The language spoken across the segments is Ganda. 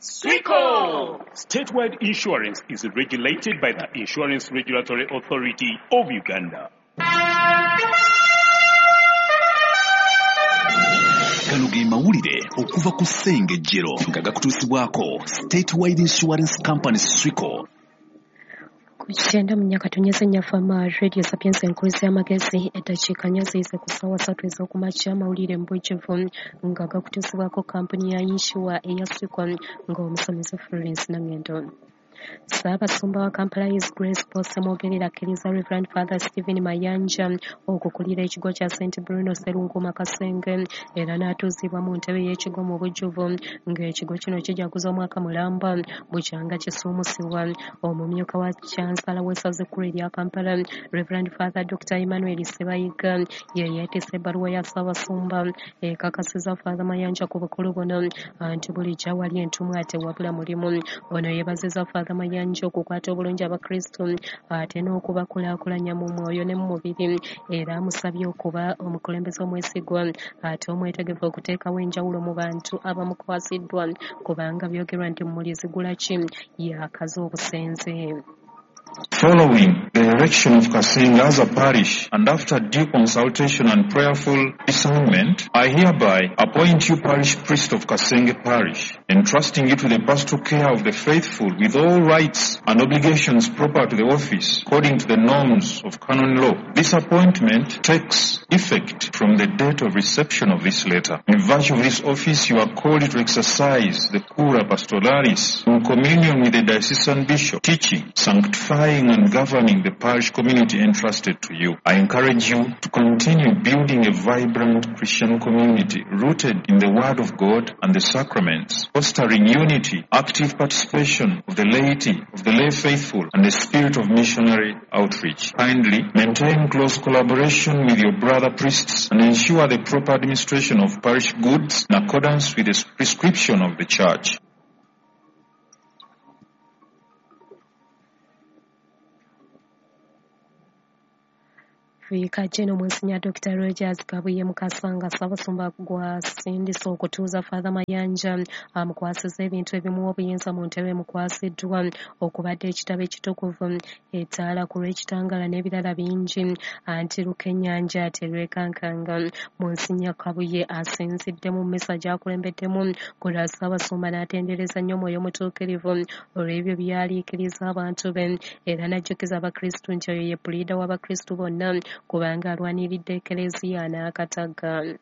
Swico! Statewide Insurance is regulated by the Insurance Regulatory Authority of Uganda. Gano ge mawulire okuva ku Ssengejjero nga gakutuusibwako Statewide Insurance Company Swico. Ku 94.4 Fama Radio Sapienza enkuluzi y'amagezi, eddakiika 4 ziyise ku ssaawa 3 ez'okumakya. Amawulire mu bujjuvu nga gakutuusibwako kampuni ya yinsuwa eya Swico ng'omusomesa Florence Nangendo. Ssaabasumba wa Kampala His Grace Paul Ssemwogerere akkiriza Reverend Father Stephen Mayanja okukulira ekigo kya St Bruno Sserunkuuma Kasenge era n'atuuzibwa mu ntebe y'ekigo mu bujjuvu ng'ekigo kino kijaguza omwaka mulamba bukyanga kisuumusibwa. Omumyuka wa Chancellor w'essaza ekkulu erya Kampala Reverend Father Dr. Emmanuel Ssebayiga ye yeetisse ebbaluwa ya Ssaabasumba ekakasiza Father Mayanja ku bukulu buno nti bulijjo awali entumwa tewabula mulimu. Ono yeebazizza Father Mayanja okukwata obulungi Abakristu ate n'okubakulaakulanya mu mwoyo ne mu mubiri, era amusabye okuba omukulembeze omwesigwa ate omwetegefu okuteekawo enjawulo mu bantu abamukwasiddwa, kubanga byogerwa nti Mulizigulaki yakaza obusenze. Following the erection of Kasenge as a parish and after due consultation and prayerful discernment, I hereby appoint you parish priest of Kasenge Parish, entrusting you to the pastoral care of the faithful with all rights and obligations proper to the office according to the norms of canon law. This appointment takes effect from the date of reception of this letter. In virtue of this office, you are called to exercise the cura pastoralis in communion with the diocesan bishop, teaching, sanctifying and governing the parish community entrusted to you. I encourage you to continue building a vibrant Christian community rooted in the Word of God and the sacraments, fostering unity, active participation of the laity, of the lay faithful, and the spirit of missionary outreach. Kindly maintain close collaboration with your brother priests and ensure the proper administration of parish goods in accordance with the prescription of the Church. Viika General Monsignor Dr. Rogers Kabuye Mukasanga Ssaabasumba gwasindise okutuuza Father Mayanja amukwasiza ebintu ebimuwa obuyinza mu ntebe emukwasiddwa okubadde ekitabo ekitukuvu, ettaala ku lw'ekitangala n'ebirala bingi, anti Lukennyanja terwekankanga. Monsignor Kabuye asinzidde mu mmisa gy'akulembeddemu ku lwa Ssaabasumba n'atendereza nnyo Omwoyo Omutuukirivu olw'ebyo by'aliikiriza abantu be, era n'ajjukiza Abakristu nti oyo ye puliida w'Abakristu bonna kubanga alwaniridde Eklezia n'akatagga.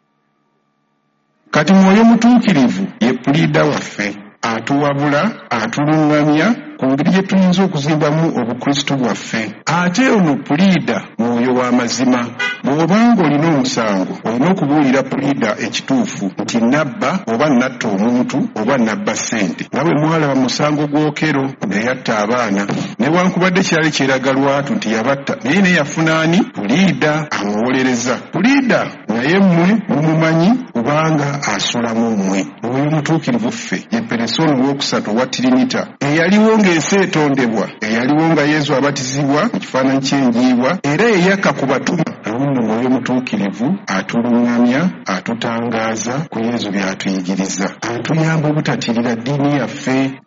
Kati Mwoyo Mutuukirivu ye puliida waffe, atuwabula, atuluŋŋamya ku ngeri gye tuyinza okuzimbamu Obukristu bwaffe. Ate ono puliida mwoyo w'amazima. Bw'obanga olina omusango, olina okubuulira puliida ekituufu nti nabba oba natta omuntu oba nabba ssente. Nga bwe mwalaba mu musango gw'Okero neyatta abaana, newankubadde kyali kyeraga lwatu nti yabatta, naye naye yafuna ani? Puliida amuwolereza. Puliida naye mmwe mumumanyi kubanga asula mu mmwe. Omwoyo Omutuukirivu ffe ye peresooni owookusatu owa Tirinita, eyaliwo ng'ensi etondebwa, eyaliwo nga Yesu abatizibwa mu kifaananyi ky'enjiibwa, era eyakka ku batume. Awo nno Mwoyo Omutuukirivu atuluŋŋamya, atutangaaza ku Yesu by'atuyigiriza, atuyamba obutatirira ddiini yaffe.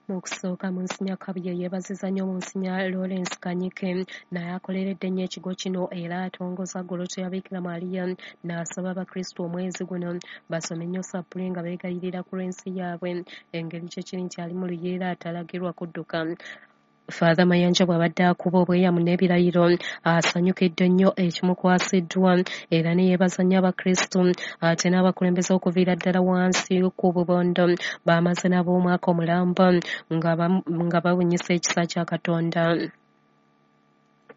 Mu kusooka Monsignor Kabuye yeebaziza nnyo Monsignor Lawrence Kanyike naye akoleredde nnyo ekigo kino era atongoza Goloto ya Bikira Maria, n'asaba Abakristu omwezi guno basome nnyo sappule nga beegayirira ku lw'ensi yaabwe, engeri kye kiri nti ali mu luyeera atalagirwa kudduka. Father Mayanja bw'abadde akuba obweyamu n'ebirayiro asanyukidde nnyo ekimukwasiddwa era ne yeebaza nnyo Abakristu ate n'abakulembeze okuviira ddala wansi ku bubondo bamaze nabo omwaka omulamba nga babunyisa ekisa kya Katonda.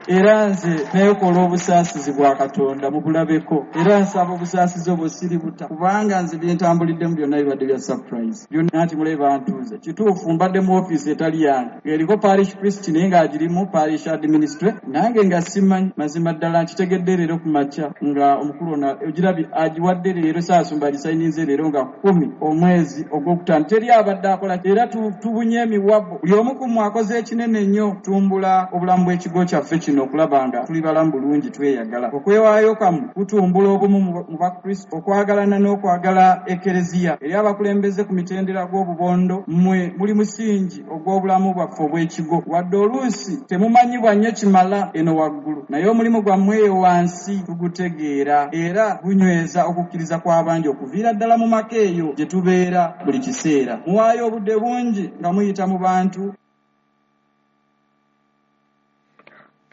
Era nze neekola obusaasizi bwa Katonda mubulabeko, era nsaba obusaasizi obwo siributa, kubanga nze bye ntambuliddemu byonna bibadde bya surprise. Byonna nti mulabe bantuuze. Kituufu mbadde mu ofiisi etali yange, ng'eriko parish priest naye ng'agirimu parish administrator, nange nga simanyi mazima ddala nkitegedde leero ku makya nga omukulu ono ogirabye agiwadde leero, Ssaabasumba agisayininze leero nga 10 omwezi ogwokutaano. Teri abadde akola, era tubunye emiwabo, buli omu ku mmwe akoze ekinene nnyo tumbula obulamu bw'ekigo kyaffe. kino okulaba nga tuli balamu bulungi tweyagala. Okwewaayo kwammwe kutumbula obumu mu Bakristo, okwagalana n'okwagala Ekereziya. Eri abakulembeze ku mitendera gw'obubondo, mmwe muli musingi ogw'obulamu bwaffe obw'ekigo. Wadde oluusi temumanyibwa nnyo kimala eno waggulu, naye omulimu gwammwe eyo wansi tugutegeera era gunyweza okukkiriza kw'abangi okuviira ddala mu maka eyo gye tubeera buli kiseera. Muwaayo obudde bungi nga muyita mu bantu.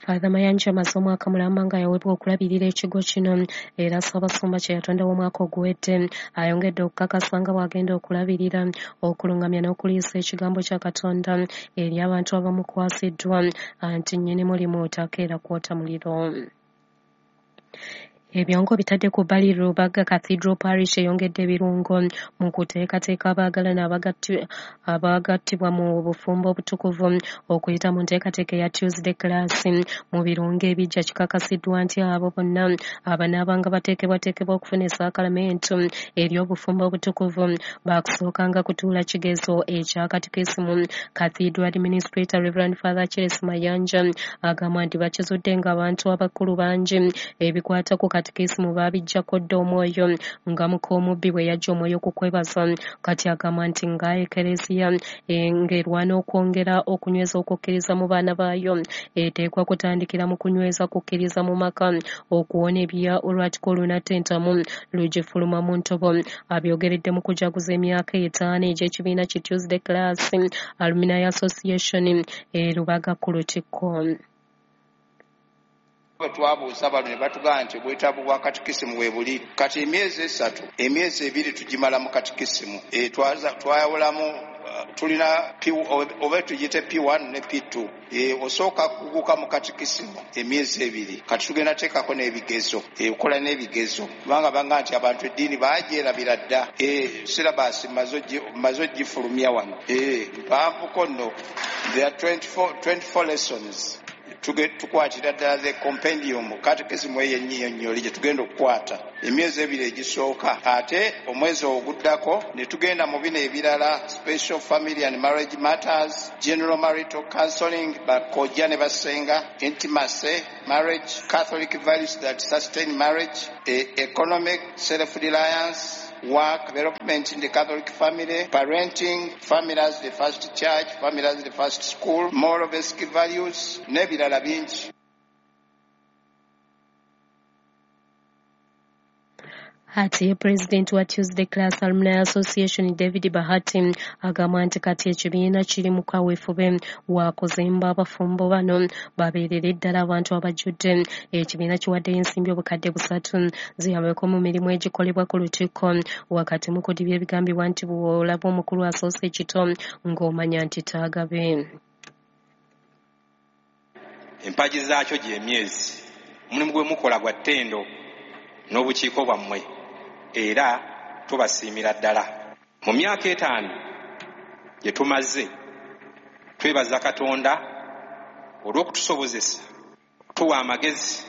Father Mayanja amaze omwaka mulamba nga yaweebwa okulabirira ekigo kino era Ssaabasumba kye yatondawo omwaka oguwedde. Ayongedde okukakasa nga bw'agenda okulabirira, okulungamya n'okuliisa ekigambo kya Katonda eri abantu abamukwasiddwa anti nnyini mulimu takeera kwota muliro. Ebyongo bitadde ku bbali Rubaga Cathedral Parish eyongedde ebirungo mu kuteekateeka abaagalana abagattibwa mu bufumbo obutukuvu okuyita mu nteekateeka eya Tuesday class. Mu birungo ebijja kikakasiddwa nti abo bonna abanaabanga bateekebwateekebwa okufuna essaakalamentu eri obufumbo obutukuvu baakusookanga kutuula kigezo ekya katikisimu. Cathedral Administrator Reverend Father Charles Mayanja agamba nti bakizudde ng'abantu abakulu bangi ebikwata ku katikisimu baabiggyako dda omwoyo nga muka omubbi bwe yajja omwoyo ku kwebaza. Kati agamba nti nga Ekereziya ng'erwana okwongera okunyweza okukkiriza mu baana baayo eteekwa kutandikira mu kunyweza kukkiriza mu maka okuwona ebya olwatiko olunatta entamu lugifuluma mu ntobo. Abyogeredde mu kujaguza emyaka 5 egy'ekibiina ki Tuesday Class Alumni Association e Rubaga ku Lutikko. Bwe twabuuza bano ne batugamba nti obwetaavu bwa katikisimu we buli. Kati emyezi 3, emyezi 2 tugimala mu katikisimu. Twayawulamu tulina P, oba tugiyite P1 ne P2. Osooka kuguka mu katikisimu emyezi 2. Kati tugenda teekako n'ebigezo, okola n'ebigezo kubanga banga nti abantu eddiini baagyerabira dda. Syllabus mmaze ogifulumya wano. Mpanvuko nno. There are 24 lessons. Tukwatira ddala the compendium catechism eyo ennyinyonnyoli gye tugenda okukwata emyezi 2 egisooka, ate omwezi oguddako ne tugenda mu bino ebirala: special family and marriage matters, general marital counseling, bakojja ne basenga, intimacy, marriage, Catholic values that sustain marriage, economic self-reliance, work, development in the Catholic family, parenting, family as the first church, family as the first school, moral basic values, n'ebirala bingi. Ate President wa Tuesday Class Alumni Association David Bahati agamba nti kati ekibiina kiri mu kaweefube wa kuzimba abafumbo bano babeerere ddala abantu abajjudde. Ekibiina kiwaddeyo ensimbi 3,000 ziyambeko mu mirimu egikolebwa ku Lutikko wakati mu kudibya ebigambibwa nti bw'olaba omukulu asoose ekito ng'omanya nti taagabe. Empagi zaakyo gy'emyezi omulimu gwe mukola gwa ttendo n'obukiiko bwammwe era tubasiimira ddala. Mu myaka 5 gye tumaze twebaza Katonda olw'okutusobozesa okutuwa amagezi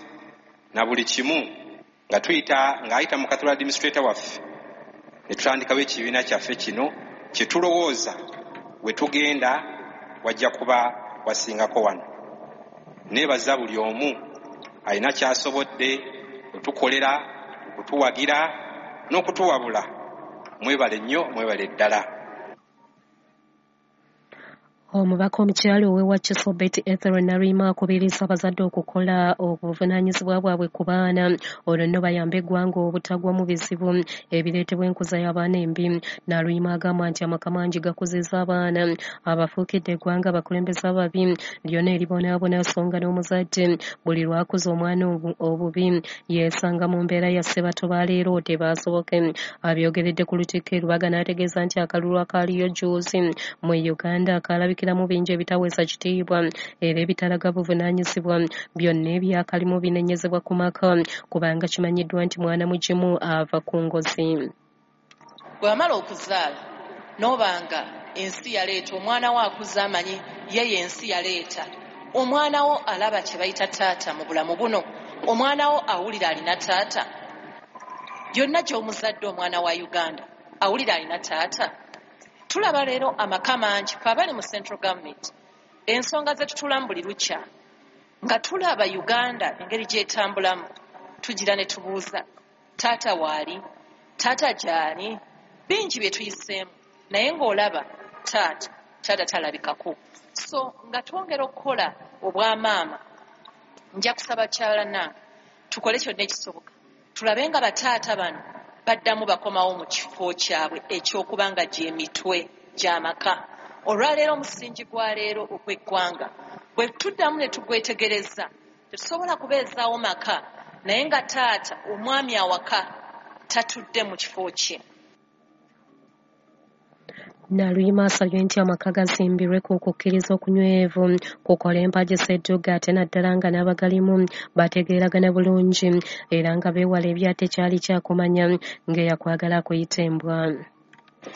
na buli kimu nga tuyita ng'ayita mu Cathedral Administrator waffe ne tutandikawo ekibiina kyaffe kino kye tulowooza we tugenda wajja kuba wasingako wano. Neebaza buli omu alina ky'asobodde otukolera, okutuwagira n'okutuwabula. Mwebale nnyo, mwebale ddala. Omubaka omukyala ow'e Wakiso Betty Ethel Naluyima akubiriza abazadde okukola obuvunaanyizibwa bwabwe ku baana olwo nno bayambe eggwanga obutagwa mu bizibu ebireetebwa enkuza y'abaana embi. Naluyima agamba nti amaka mangi gakuzizza abaana abafuukidde eggwanga abakulembeze ababi lyonna eribonaabona so nga n'omuzadde buli lw'akuza omwana obubi yeesanga mu mbeera ya Ssebato ba leero tebaasoboke. Abyogeredde ku Lutikko e Rubaga n'ategeeza nti akalulu akaaliyo jjuuzi mu Uganda kalabikira mu bingi ebitaweesa kitiibwa era ebitalaga buvunaanyizibwa byonna ebyakalimu binenyezebwa ku maka kubanga kimanyiddwa nti mwana mugimu ava ku ngozi. Bwe wamala okuzaala n'obanga ensi yaleeta omwana wo akuze amanyi ye yensi yaleeta omwana wo alaba kye bayita taata mu bulamu buno, omwana wo awulira alina taata. Yonna gy'omuzadde omwana wa Uganda awulira alina taata. Tulaba leero amaka mangi fe abali mu central government ensonga ze tutulamu buli lukya Nga tulaba Uganda engeri gy'etambulamu, tugira ne tubuuza taata waali, taata gy'ali, bingi bye tuyiseemu, naye ng'olaba taata talabikako. So nga twongera okukola obwamaama, nja kusaba kyala nange tukole kyonna ekisoboka tulabe nga bataata bano baddamu bakomawo mu kifo kyabwe eky'okuba nga gy'emitwe gy'amaka. Olwaleero omusingi gwa leero ogw'eggwanga bwe tuddamu ne tugwetegereza, tetusobola kubeezaawo maka naye nga taata omwami awaka tatudde mu kifo kye. Naluyima asabye nti amaka gazimbirwe ku kukkiriza okunywevu kukola empagi ssedduga, ate naddala nga n'abagalimu bategeeragana bulungi era nga beewala ebyatekyali kyakumanya ng'eyakwagala akuyita embwa.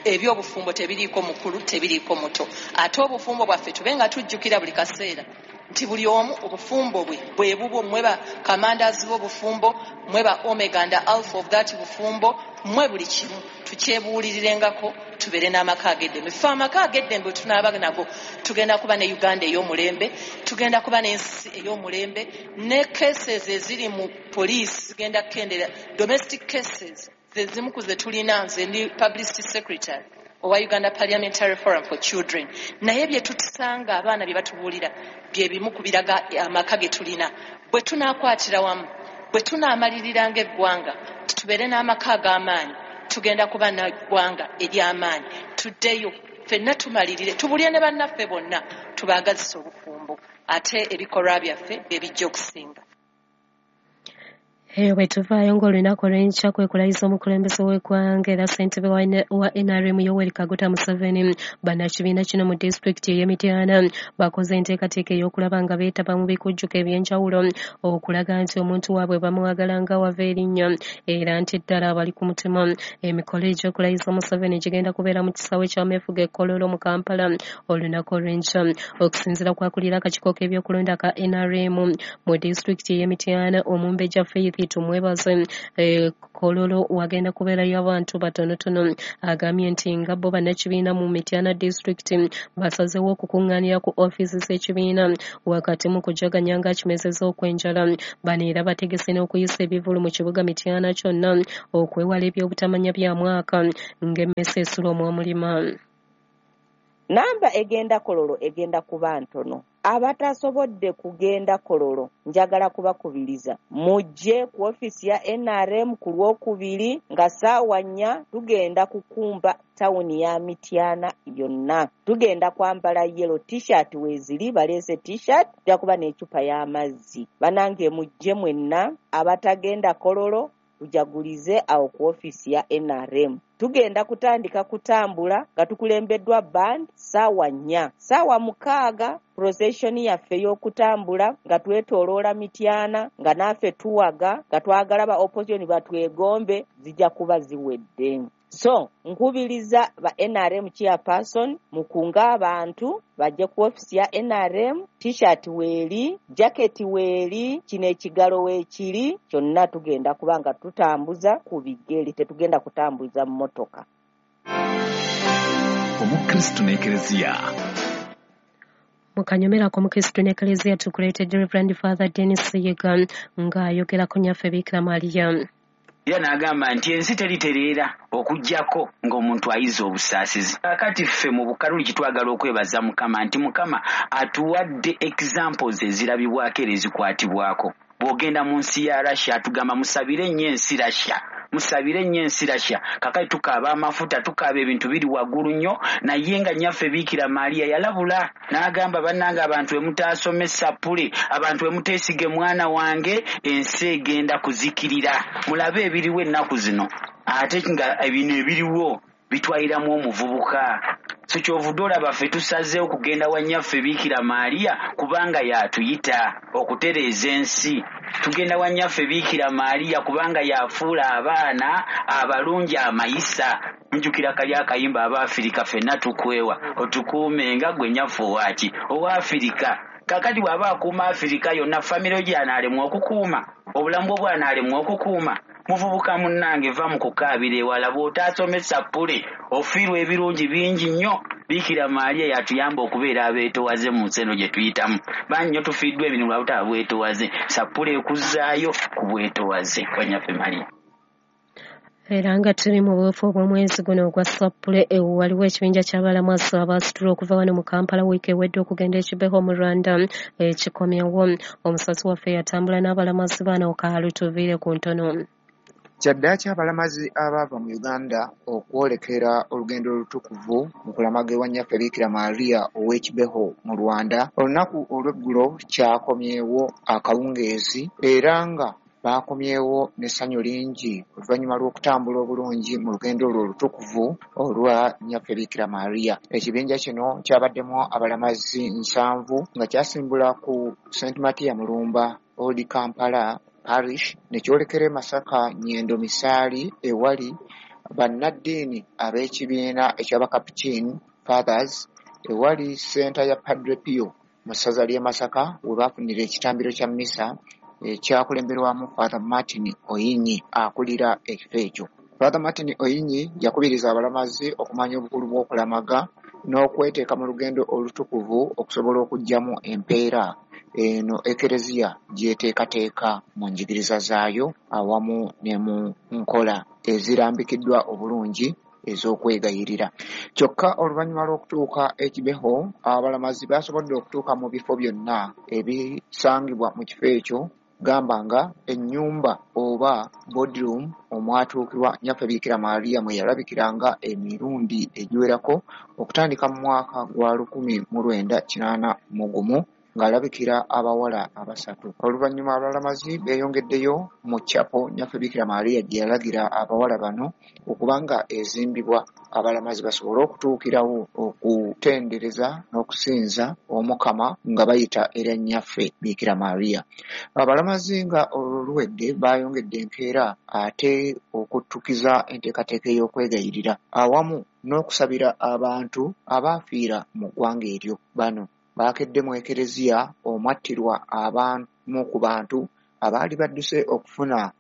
Ebyobufumbo tebiriiko mukulu, tebiriiko muto, ate obufumbo bwaffe tube nga tujjukira buli kaseera nti buli omu obufumbo bwe bwe bubwo. Mmwe ba commanders b'obufumbo, mmwe ba omega and alpha of that bufumbo, mmwe buli kimu tukyebuulirirengako, tubeere n'amaka ag'eddembe. Ffe amaka ag'eddembe tunaaba nago, tugenda kuba ne Uganda ey'omulembe, tugenda kuba n'ensi ey'omulembe, ne cases eziri mu poliisi zigenda kukendeera. Domestic cases ze zimu ku ze tulina. Nze ndi publicity secretary owa Uganda Parliamentary Forum for Children, naye bye tutusanga abaana bye batubuulira bye bimu ku biraga amaka ge tulina. Bwe tunaakwatira wamu, bwe tunaamalirira ng'eggwanga tubeere n'amaka ag'amaanyi, tugenda kuba n'eggwanga ery'amaanyi. Tuddeyo ffenna tumalirire, tubulye ne bannaffe bonna, tubaagazise obufumbo, ate ebikolwa byaffe bye bijja okusinga. Eyo bwe tuvaayo ng'olunaku olw'enkya kwe kulayiza omukulembeze w'eggwanga era ssentebe wa NRM Yoweri Kaguta Museveni. Bannakibiina kino mu disitulikiti ey'e Mityana bakoze enteekateeka ey'okulaba nga beetaba mu bikujjuko eby'enjawulo okulaga nti omuntu waabwe bamwagala nga wava erinnya era nti ddala abali ku mutima. Emikolo egy'okulayiza Museveni gigenda kubeera mu kisaawe ky'ameefuga e Kololo mu Kampala olunaku olw'enkya. Okusinziira kw'akulira akakiiko k'ebyokulonda ka NRM mu disitulikiti ey'e Mityana, Omumbejja Faith Tumwebaze, Kololo wagenda kubeerayo abantu batonotono. Agambye nti nga bo bannakibiina mu Mityana disitulikiti basazeewo okukuŋŋaanira ku ofiisi z'ekibiina wakati mu kujaganya ng'akimezezza okw'enjala. Bano era bategese n'okuyisa ebivvulu mu kibuga Mityana kyonna okwewala ebyobutamanya bya mwaka ng'emmese esula omw'omulima. Namba egenda Kololo egenda kuba ntono. Abatasobodde kugenda Kololo njagala kubakubiriza mujje ku ofiisi ya NRM ku Lwokubiri nga ssaawa 4. Tugenda kukumba tawuni ya Mityana yonna. Tugenda kwambala yellow t-shirt, weeziri baleese t-shirt, tujja kuba n'eccupa y'amazzi. Banange mujje mwenna abatagenda Kololo, tujagulize awo ku ofiisi ya NRM. Tugenda kutandika kutambula nga tukulembeddwa band ssaawa 4. Ssaawa 6 procession yaffe ey'okutambula nga twetooloola Mityana nga naffe tuwaga nga twagala ba opposition batwegombe zijja kuba ziwedde. So nkubiriza ba NRM chairperson mukunga abantu bajje ku ofiisi ya NRM. T-shirt weeri, jacket weeri, kino ekigalo weekiri, kyonna tugenda kuba nga tutambuza ku bigere, tetugenda kutambuza mmotoka. Omukristu n'Ekereziya. Mu kanyomero Omukristu n'Ekereziya tukuleetedde Reverend Father Denis Yiga ng'ayogerako Nnyaffe Bikira Maria. Era n'agamba nti ensi teritereera okuggyako ng'omuntu ayiza obusaasizi. Kaakati ffe mu Bukatoliki twagala okwebaza Mukama nti Mukama atuwadde examples ezirabibwako era ezikwatibwako. Bw'ogenda mu nsi ya Russia atugamba musabire nnyo ensi Russia, musabire nnyo ensi Russia. Kaakati tukaaba amafuta, tukaaba ebintu biri waggulu nnyo, naye nga Nnyaffe Bikira Maria yalabula n'agamba bannange abantu emutaasome sappule, abantu emuteesige mwana wange, ensi egenda kuzikirira. Mulabe ebiriwo ennaku zino, ate nga bino ebiriwo bitwaliramu omuvubuka. So kyovudde olaba ffe tusazeewo kugenda wa Nnyaffe Bikira Maria kubanga y'atuyita okutereeza ensi. Tugenda wa Nnyaffe Bikira Maria kubanga y'afuula abaana abalungi amayisa. Njukira kali akayimba Abaafirika ffenna tukwewa, otukuume nga gwe Nnyaffe owaaki Owaafirika. Kaakati bw'aba akuuma Afirika yonna, famire gy'anaalemwa okukuuma, obulamu bwo bw'anaalemwa okukuuma. Muvubuka munnange, va mu kukaabira ewala. Bw'otaasome sappule ofiirwa ebirungi bingi nnyo. Biikira Maria yatuyamba okubeera abeetowaze mu nsi eno gye tuyitamu. Bangi nnyo tufiiddwa emirimu lwa butaba bwetowaze. Sappule ekuzzaayo ku bwetowaze bwa Nnyaffe Maria. Era nga tuli mu buufu obw'omwezi guno ogwa Sappule, waliwo ekibinja ky'abalamazi abaasitula okuva wano mu Kampala wiiki ewedde okugenda e Kibeho mu Rwanda ekikomyewo. Omusazi waffe yatambula n'abalamazi bano kaalutuviire ku ntono. Kyaddaaki abalamazi abaava mu Uganda okwolekera olugendo olutukuvu mu kulamaga ewa Nnyaffe Biikira Maria ow'e Kibeho mu Rwanda, olunaku olw'eggulo kyakomyewo akawungeezi era nga baakomyewo n'essanyu lingi oluvannyuma lw'okutambula obulungi mu lugendo olwo olutukuvu olwa Nnyaffe Biikira Maria. Ekibinja kino kyabaddemu abalamazi 7 nga kyasimbula ku St. Matia Mulumba Old Kampala Parish ne kyolekera e Masaka Nyendo Misaali ewali bannaddiini ab'ekibiina eky'Abakapuchin Fathers ewali ssenta ya Padre Pio mu ssaza ly'e Masaka we baafunira ekitambiro kya mmisa ekyakulemberwamu Father Martin Oyinyi akulira ekifo ekyo. Father Martin Oyinyi yakubiriza abalamazi okumanya obukulu bw'okulamaga n'okweteeka mu lugendo olutukuvu okusobola okuggyamu empeera eno Ekereziya gy'eteekateeka mu njigiriza zaayo awamu ne mu nkola ezirambikiddwa obulungi ez'okwegayirira. Kyokka oluvannyuma lw'okutuuka e Kibeho, abalamazi baasobodde okutuuka mu bifo byonna ebisangibwa mu kifo ekyo, gamba nga ennyumba oba boardroom omwatuukirwa Nnyaffe Biikira Maria mwe yalabikiranga emirundi egiwerako okutandika mu mwaka gwa 1981 ng'alabikira abawala abasatu. Oluvannyuma abalamazi beeyongeddeyo mu chapel Nnyaffe Biikira Maria gye yalagira abawala bano okuba nga ezimbibwa abalamazi basobole okutuukirawo okutendereza n'okusinza Omukama nga bayita era Nnyaffe Biikira Maria. Abalamazi nga olwo luwedde baayongedde enkeera ate okuttukiza enteekateeka ey'okwegayirira awamu n'okusabira abantu abaafiira mu ggwanga eryo. Bano baakedde mu Ekereziya omwattirwa abamu ku bantu abaali badduse okufuna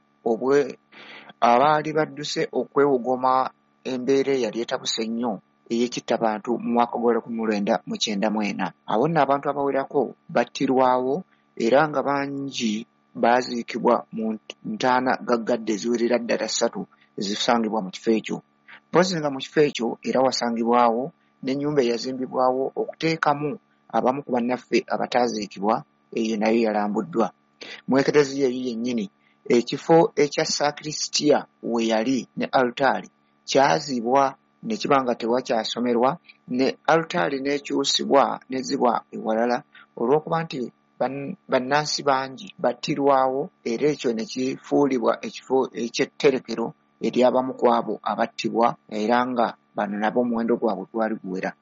abaali badduse okwewogoma embeera eyali etabuse ennyo ey'ekittabantu mu mwaka gwa 1994. Awo nno abantu abawerako battirwawo era nga bangi baaziikibwa mu ntaana gaggadde eziwerera ddala 3 ezisangibwa mu kifo ekyo. Mpozzi nga mu kifo ekyo era wasangibwawo n'ennyumba eyazimbibwawo okuteekamu abamu ku bannaffe abataaziikibwa, eyo nayo yalambuddwa. Mu Ekereziya eyo yennyini ekifo ekya Sakrisitiya we yali ne alutaari kyazibwa ne kiba nga tewakyasomerwa ne alutaari n'ekyusibwa n'ezzibwa ewalala olw'okuba nti bannansi bangi battirwawo era ekyo ne kifuulibwa ekifo eky'etterekero eri abamu ku abo abattibwa era nga bano nabo omuwendo gwabwe gwali guwera.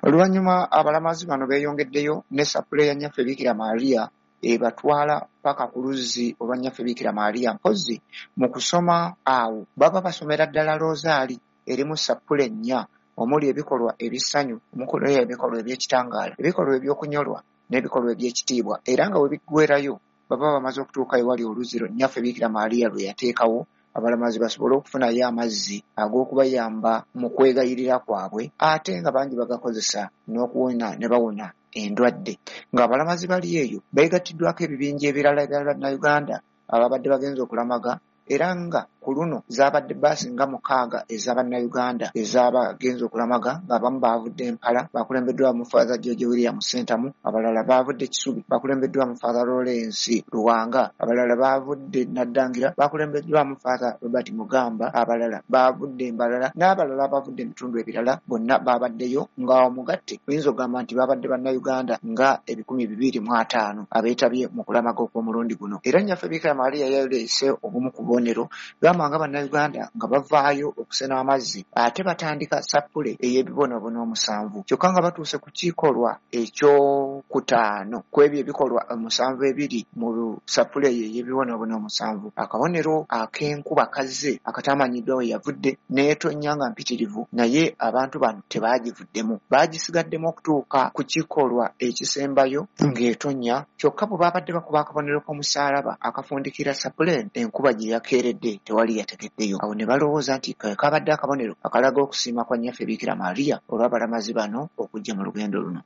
Oluvannyuma abalamazi bano beeyongeddeyo ne sappule ya Nnyaffe Biikira Maria ebatwala paka ku luzzi olwa Nnyaffe Biikira Maria. Mpozzi mu kusoma awo baba basomera ddala loozaali erimu sappule 4 omuli ebikolwa eby'essanyu, omuli ebikolwa eby'ekitangaala, ebikolwa eby'okunyolwa n'ebikolwa eby'ekitiibwa, era nga we biggweerayo baba bamaze okutuuka ewali oluzzi Nnyaffe Biikira Maria lwe yateekawo abalamazi basobole okufunayo amazzi ag'okubayamba mu kwegayirira kwabwe, ate nga bangi bagakozesa n'okuwona ne bawona endwadde. Ng'abalamazi bali eyo beegattiddwako ebibinja ebirala ebya Bannayuganda ababadde bagenze okulamaga, era nga ku luno zaabadde bbaasi nga 6 ez'Abannayuganda ez'abagenze okulamaga, ng'abamu baavudde Mpala bakulembeddwamu Father George William Ssentamu, abalala baavudde Kisubi bakulembeddwamu Father Lawrence Luwanga, abalala baavudde Naddangira bakulembeddwamu Father Robert Mugamba, abalala baavudde Mbalala n'abalala abavudde ebitundu ebirala bonna baabaddeyo, nga omugatte oyinza okugamba nti baabadde Bannayuganda nga 250 abeetabye mu kulamaga okw'omulundi guno. Era Nnyaffe Biikira Maria yaleese obumu ku bubonero gamba nga Bannayuganda nga bavaayo okusena amazzi ate batandika sappule ey'ebibonoobono 7, kyokka nga batuuse ku kikolwa ekyokutaano ku ebyo ebikolwa 7 ebiri mu sappule eyo ey'ebibonoobono 7, akabonero ak'enkuba kazze akatamanyiddwa we yavudde n'etonnya nga mpitirivu, naye abantu bano tebaagivuddemu, baagisigaddemu okutuuka ku kikolwa ekisembayo ng'etonnya, kyokka bwe baabadde bakuba akabonero k'omusaalaba akafundikira sappule enkuba gye yakeeredde tewali Tewali yategeddeyo. Awo ne balowooza nti kabadde akabonero akalaga okusiima kwa Nnyaffe Biikira Maria olw'abalamazi bano okujja mu lugendo luno.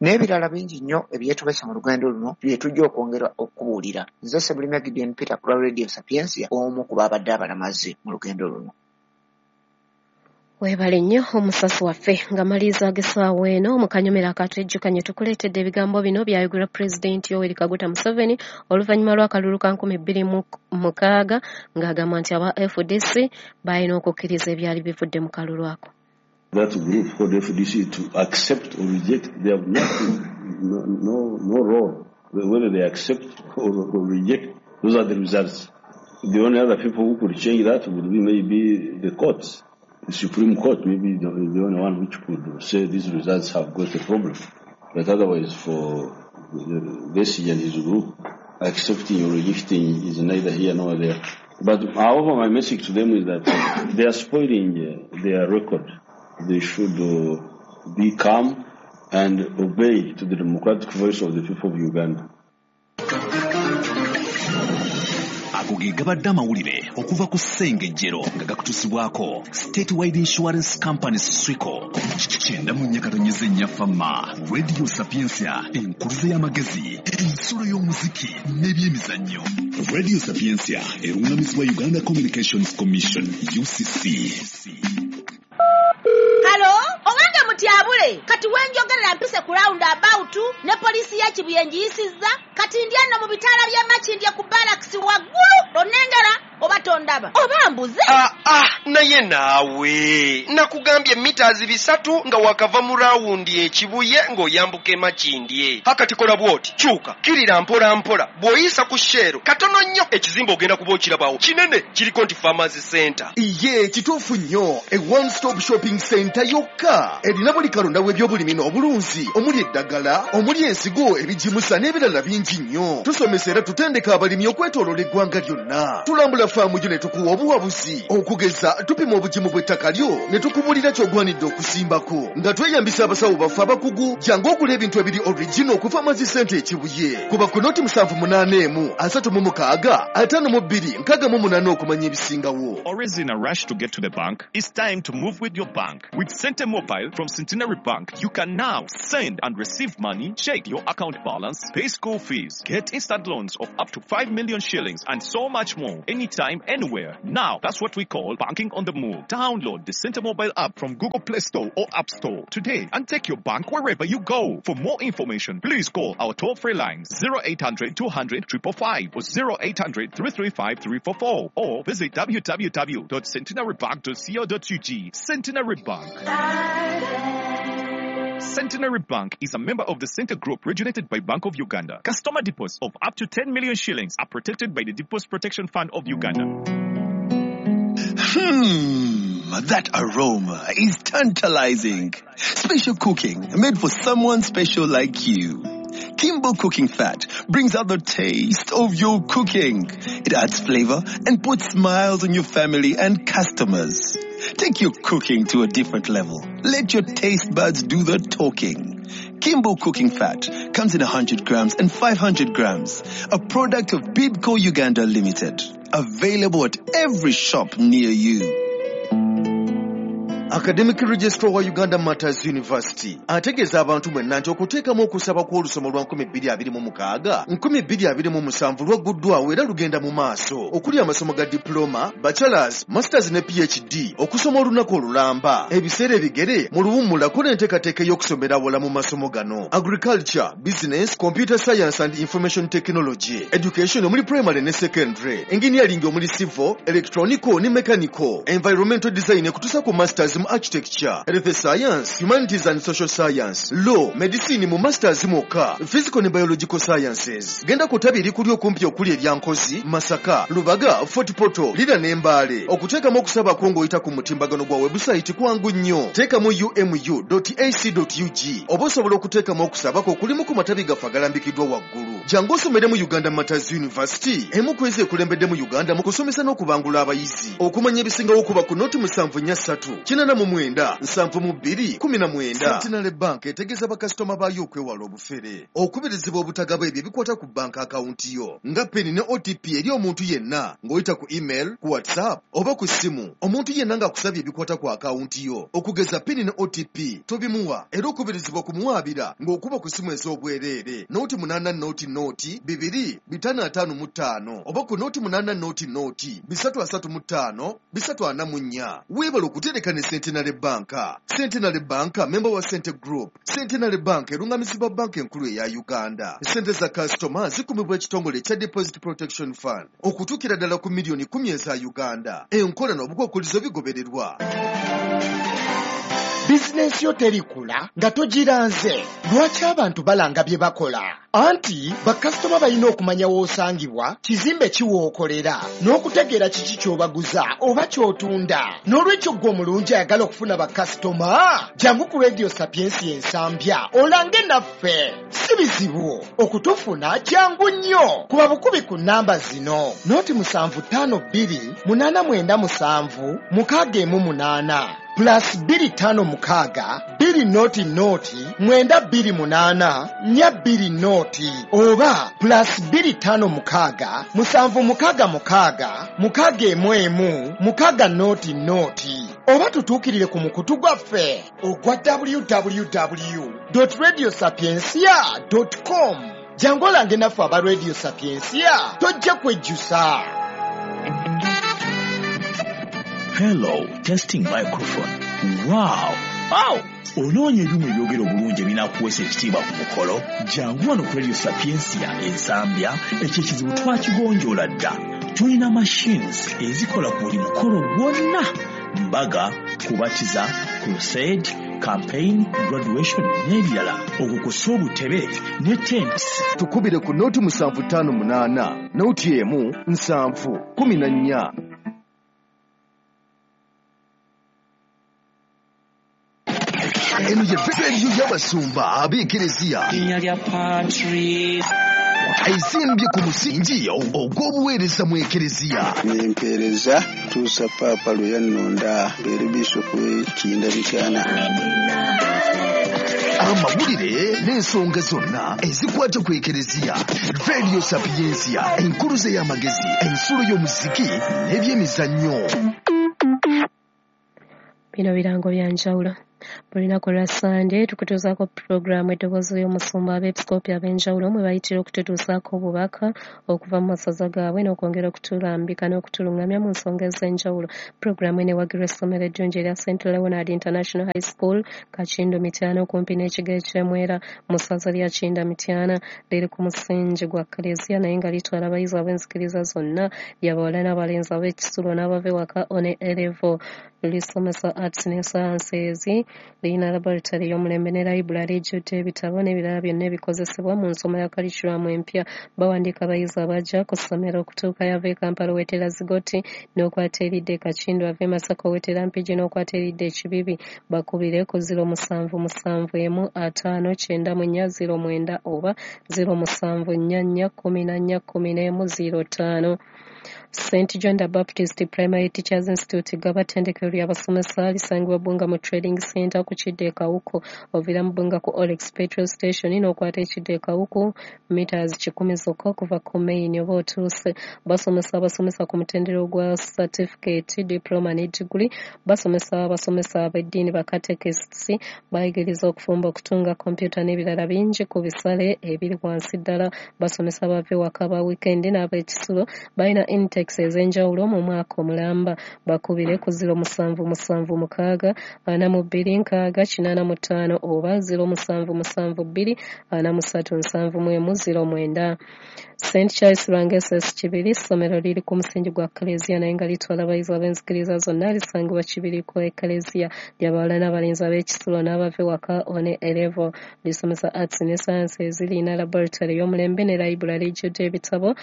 N'ebirala bingi nnyo ebyetobese mu lugendo luno bye tujja okwongera okubuulira. Nze Ssebulime Gideon Peter ku lwa Radio Sapientia, omu ku baabadde abalamazi mu lugendo luno. Weebale nnyo omusasi waffe. Nga maliriza ag'essaawa eno mu kanyomero akatwejjukanye tukuleetedde ebigambo bino byayogera Pulezidenti Yoweri Kaguta Museveni oluvannyuma lw'akalulu ka 2006 ng'agamba nti aba FDC balina okukkiriza ebyali bivudde mu kalulu ako. That group called FDC to accept or reject, they have nothing, no role. Whether they accept or reject, those are the results. The only other people who could change that would be maybe the courts. The Supreme Court may be the only one which could say these results have got a problem. But otherwise, for Besigye and his group, accepting or rejecting is neither here nor there. But however, my message to them is that they are spoiling their record. They should be calm and obey to the democratic voice of the people of Uganda. Ago ge gabadde amawulire okuva ku Ssengejjero nga gakutuusibwako Statewide Insurance Company Swico. 94.4 Fama Radio Sapientia, enkuluze y'amagezi, ensulo y'omuziki n'ebyemizannyo. Radio Sapientia erungamizibwa Uganda Communications Commission UCC. Halo, owange mutyabule, kati wenjogerera mpise ku round about ne poliisi ya Kibuye ngiyisizza, kati ndi ano mu bitaala by'e Makindye ku barracks waggulu, onnengera oba tondaba oba mbuze. Naye naawe nakugambye mita 300 nga wakava mu rawundi e Kibuye ng'oyambuka e Makindye. Hakati kola bw'oti, kyuka kirira mpola mpola, bw'oyisa ku Shell katono nnyo ekizimbe ogenda kuba okirabawo kinene kiriko nti Farmers Center. Iye kituufu nnyo, e one stop shopping center yokka erina buli kalonda w'ebyobulimi n'obulunzi, omuli eddagala, omuli ensigo, ebigimusa n'ebirala bingi nnyo. Tusomesa era tutendeka abalimi okwetooloola eggwanga lyonna. Tulambula faamu yo ne tukuwa obuwabuzi, okugeza tupima obugimu bw'ettaka lyo ne tukubuulira ky'ogwanidde okusimbako nga tweyambisa abasawo baffe abakugu. Jangu ogula ebintu ebiri original ku Farmers Center e Kibuye. Kuba ku noti 781 36 52 68 okumanya ebisingawo. Always in a rush to get to the bank? It's time to move with your bank. With Center Mobile from Centenary Bank, you can now send and receive money, check your account balance, pay school fees, get instant loans of up to 5 million shillings, and so much more, anytime, anywhere. Now, that's what we call banking on the move. Download the Center Mobile app from Google Play Store or App Store today and take your bank wherever you go. For more information, please call our toll-free lines 0800 200 555 or 0800 335 344 or visit www.centenarybank.co.ug. Centenary Bank. Centenary Bank is a member of the Center Group regulated by Bank of Uganda. Customer deposits of up to 10 million shillings are protected by the Deposit Protection Fund of Uganda. That aroma is tantalizing. Special cooking made for someone special like you. Kimbo Cooking Fat brings out the taste of your cooking. It adds flavor and puts smiles on your family and customers. Take your cooking to a different level. Let your taste buds do the talking. Kimbo Cooking Fat comes in 100 grams and 500 grams. A product of Bidco Uganda Limited. Available at every shop near you. Academic Registrar wa Uganda Matters University ategeeza abantu mwenna nti okuteekamu okusaba kw'olusomo lwa 2026 2027 lwagguddwawo era lugenda mu maaso, okuli amasomo ga diploma, bachelors, masters ne PhD, okusoma olunaku olulamba, ebiseera ebigere mu luwummulako n'enteekateeka ey'okusomera awala mu masomo gano: agriculture, business, computer science and information technology, education omuli primary ne secondary, engineering omuli civil, electronical ne mechanical, environmental design ekutuusa ku masters mu architecture, health science, humanities and social science, law, medicine mu masters mwokka, physical ne biological sciences. Genda ku ttabi erikuli okumpi okuli erya Nkozi, Masaka, Lubaga, Fort Portal, Lira ne Mbale. Okuteekamu okusaba kwo ng'oyita ku mutimbagano gwa website kwangu nnyo. Teekamu umu.ac.ug oba osobola okuteekamu okusaba kwo kulimu ku matabi gaffe agalambikiddwa waggulu. Jangu osomere mu Uganda Matters University, emu ku ezo ekulembedde mu Uganda mu kusomesa n'okubangula abayizi. Okumanya ebisingawo kuba ku noti 743 89 72 19. Centenary Bank etegeeza bakasitoma baayo okwewala obufere, okubirizibwa obutagaba ebyo ebikwata ku banka akawunti yo nga PIN ne OTP eri omuntu yenna ng'oyita ku email, ku WhatsApp oba ku ssimu. Omuntu yenna ng'akusabye ebikwata ku akawunti yo okugeza PIN ne OTP tobimuwa, era okubirizibwa kumuwaabira ng'okuba ku ssimu ez'obwereere 0 8 0 0 2 5 5 oba ku 0 8 0 0 3 35 344. Weebale okutereka ne Centenary Bank. Centenary Bank memba wa Sente Group. Centenary Bank erungamizibwa banka enkulu eya Uganda. Sente za kasitoma zikumibwa ekitongole ekya Deposit Protection Fund okutuukira ddala ku miliyoni 10 eza Uganda. Enkola n'obukwakkulizo bigobererwa. Bizinensi yo terikula nga togiranze. Lwaki abantu balanga bye bakola? Anti bakasitoma balina okumanya w'osangibwa, kizimbe ki w'okolera, n'okutegeera kiki ky'obaguza oba ky'otunda. N'olwekyo ggwe omulungi ayagala okufuna bakasitoma, jangu ku Radio Sapiensia Ensambya olange naffe. Si bizibu okutufuna, kyangu nnyo. Kuba bukubi ku nnamba zino: 0 752 897 618, +256 2 0 0 928 420, oba +256 766 611 600, oba tutuukirire ku mukutu gwaffe ogwa www radio sapiencia com. Jangu olange naffe aba Radio Sapiencia, tojja kwejjusa. Hello, testing microphone. Wow! Onoonya ebyuma ebyogera obulungi ebinaakuweesa ekitiibwa ku mukolo? Jangu wano ku Radio Sapiencia Ensambya, ekyo ekizibu twakigonjoola dda. Tulina machines ezikola ku buli mukolo gwonna: mbaga, kubatiza, crusade, campaign, graduation n'ebirala, okwo kw'ossa obutebe ne tents. Tukubire ku 0758 01 7 14. Eno ye rediyo y'abasumba ab'ekereziya Linnya lya Patri. Ezimbye ku musingi ogw'obuweereza mu ekereziya. Nempeereza tuusa Paapa lwe yannonda mbeere bisopu w'e Kinda Mityana. Amawulire n'ensonga zonna ezikwata ku ekereziya. Radio Sapiencia, enkuluze y'amagezi, ensulo y'omuziki n'ebyemizannyo. Bino birango bya njawulo. Buli lunaku lwa Sande tukutuusaako pulogulaamu Eddoboozi ly'Omusumba, abeepisikoopi ab'enjawulo mwe bayitira okututuusaako obubaka okuva mu masaza gaabwe n'okwongera okutulambika n'okutulungamya mu nsonga ez'enjawulo. Pulogulaamu eno ewagirwa essomero eddungi erya St Leonard International High School, Kakindu, Mityana, okumpi n'ekigo eky'Emwera mu ssaza lya Kinda Mityana. Liri ku musingi gwa Kaleziya naye nga litwala abayizi ab'enzikiriza zonna, lyabawala n'abalenzi, ab'ekisulo n'abava ewaka, O ne A level. Lisomesa arts ne sciences, lirina laboratory ey'omulembe ne library ejjudde ebitabo n'ebirala byonna ebikozesebwa mu nsoma ya curriculum empya. Bawandiika abayizi abajja ku ssomero. Okutuukayo, ava e Kampala owetera Zigoti n'okwata eridda e Kakindu, ava e Masaka owetera Mpigi n'okwata eridda e Kibibi. Bakubire ku 0771 594 09 oba 0744 14 11 05. St John the Baptist Primary Teachers Institute, Gaba, ttendekero ly'abasomesa lisangibwa Bbunga mu Trading Center ku kidda e Kawuku. Oviira mu Bbunga ku Olex Petrol Station n'okwata ekidda e Kawuku, meters 100 zokka okuva ku main oba otuuse. Basomesa abasomesa ku mutendera ogwa certificate, diploma ne degree. Basomesa abasomesa ab'eddiini, ba catechists. Bayigiriza okufumba, okutunga, kompyuta n'ebirala bingi ku bisale ebiri wansi ddala. Basomesa abava ewaka, ba weekend n'ab'ekisulo. Balina intakes ez'enjawulo mu mwaka omulamba. Bakubire ku 0776 42 60 85 oba 0772 43 71 09. St Charles Lwanga SS Kibiri, ssomero liri ku musingi gwa Kaleziya naye nga litwala abayizi ab'enzikiriza zonna. Lisangibwa Kibiri ku Ekaleziya, lyabawala n'abalenzi, ab'ekisulo n'abava ewaka, O ne A level. Lisomesa arts ne sciences, lirina laboratory ey'omulembe ne library ejjudde ebitabo.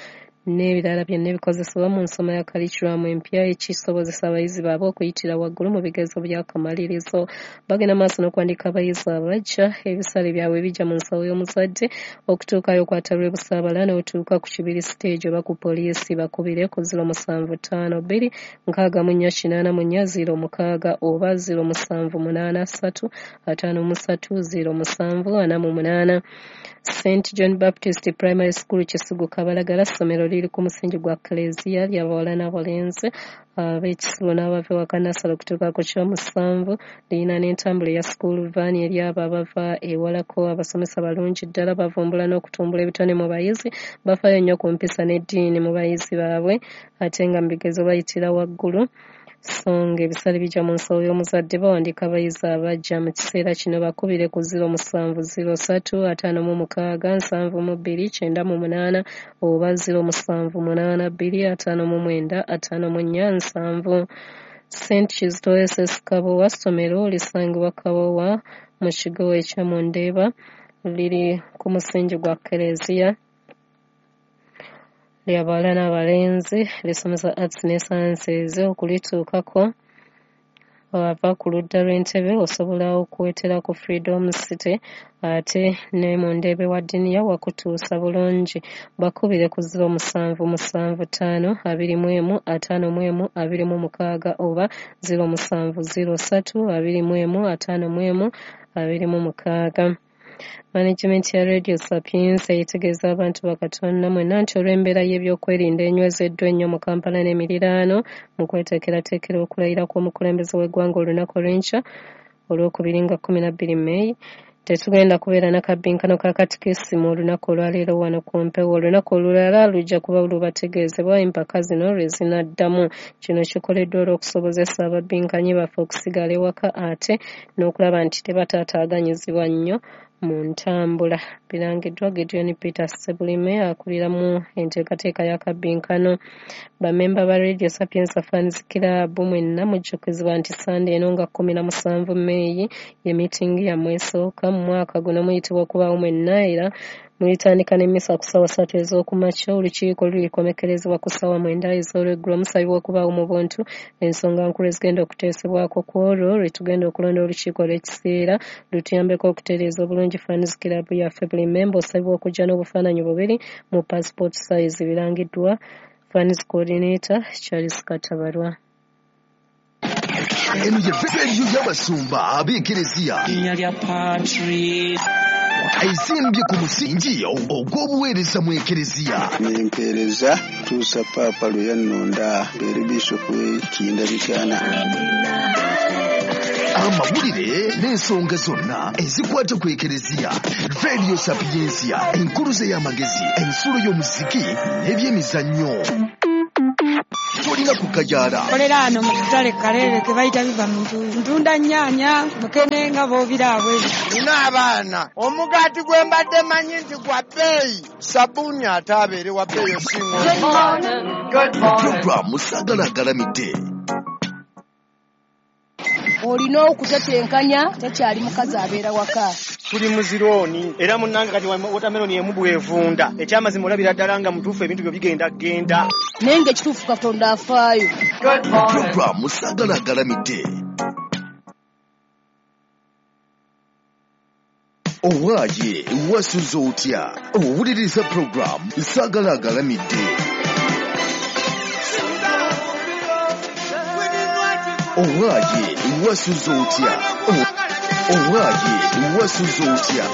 N'ebirala byonna ebikozesebwa mu nsoma ya kalikiramu empya, ekisobozesa abayizi baabwe okuyitira waggulu mu bigezo by'akamalirizo. Bagenda maaso n'okuwandiika abayizi abajja. Ebisale byabwe bijja mu nsawo y'omuzadde. Okutuukayo okwata lw'e Busaabala n'otuuka ku Kibiri stage oba ku poliisi. Bakubire ku 0752 64 84 06 oba 0783 53 07 48. St John Baptist Primary School Kisugu Kabalagala, ssomero liri ku musingi gwa Klezia, ly'abawala n'abalenzi ab'ekisibo n'abava ewaka nasale okutuuka ku kyomusanvu. Lirina n'entambula eya school van eri abo abava ewalako. Abasomesa balungi ddala, bavumbula n'okutumbula ebitone mu bayizi, bafaayo nnyo ku mpisa n'eddiini mu bayizi baabwe, ate nga mu bigezo bayitira waggulu. So ng'ebisale bijja mu nsawo y'omuzadde. Bawandiika abayizi abajja mu kiseera kino. Bakubire ku 0703 56 72 98 oba 0782 59 54 70. St Kizito SS Kabowa, ssomero lisangibwa Kabowa mu kigo ekya Mundeeba, liri ku musingi gwa Kereziya, ly'abawala n'abalenzi, lisomesa arts ne sciences. Okulituukako ava ku ludda lw'entebe, osobola okuwetera ku Freedom City, ate ne mu Ndeebe wa Diniya wakutuusa bulungi. Bakubire ku 0775 21 51 26 oba 0703 21 51 26. Management ya Radio Sapientia etegeeza abantu bakatonda mwenna nti olw'embeera y'ebyokwerinda enywezeddwa ennyo mu Kampala n'emiriraano mu kweteekerateekera okulayira kw'omukulembeze w'eggwanga olunaku olw'enkya Olwokubiri nga 12 May, tetugenda kubeera na kabbinkano ka katikisimu olunaku olwaleero wano ku mpewo. Olunaku olulala lujja kuba lubategeezebwa empaka zino lwe zinaddamu. Kino kikoleddwa olw'okusobozesa ababbinkanyi baffe okusigala ewaka ate n'okulaba nti tebataataaganyizibwa nnyo mu ntambula. Birangiddwa Gideon Peter Ssebulime, akuliramu enteekateeka y'akabbinkano. Bammemba ba Radio Sapientia Fans Club mwenna mujjukizibwa nti Sande eno nga 17 May ye miitingi yammwe esooka mu mwaka guno. Muyitibwa okubaawo mwenna era mulitandika n'emmisa ku ssaawa 3 ez'okumakya. Olukiiko lulikomekerezebwa ku ssaawa 9 ez'olweggulo. Musabibwa okubaawo mu buntu. Ensonga nkulu ezigenda okuteesebwako ku olwo lwe tugenda okulonda olukiiko olw'ekiseera lutuyambeko okutereeza obulungi fans club yaffe. Buli mmemba osabibwa okujja n'obufaananyi bubiri mu passport size. Birangiddwa fans coordinator Charles Katabarwa. Eno ye rediyo y'abasumba ab'ekereziya. Erinnya lya Patri. Ezimbye ku musingi ogw'obuweereza mu ekereziya. Nempeereza tuusa Paapa lwe yannonda mbeere bishopu w'e Kinda. Amawulire n'ensonga zonna ezikwata ku ekereziya. Radio Sapientia, enkuluze y'amagezi, ensulo y'omuziki n'ebyemizannyo. Tolina kukajaala. Kolera ano mu katale Kaleere ke bayita biva mu ntuuyo. Ntunda nnyaanya, mukene nga b'obiraabwe. Nina abaana, omugaati gwe mbadde manyi nti gwa bbeeyi, sabbuuni ate abeere wa bbeeyi osinga. Programu Sagala Agalamidde. Olina okutetenkanya, tekyali mukazi abeera waka. Tuli muzirooni era munnange kati watermelon emu bw'evunda. Ekyamazima olabira ddala nga mutuufu ebintu byo bigenda genda. Naye ng'ekituufu Katonda afaayo. Programu Sagala Agalamidde. Owaaye wasuze otya? Owuliriza programu Sagala Agalamidde. Owaaye wasuze otya? Owaaye wasuze otya?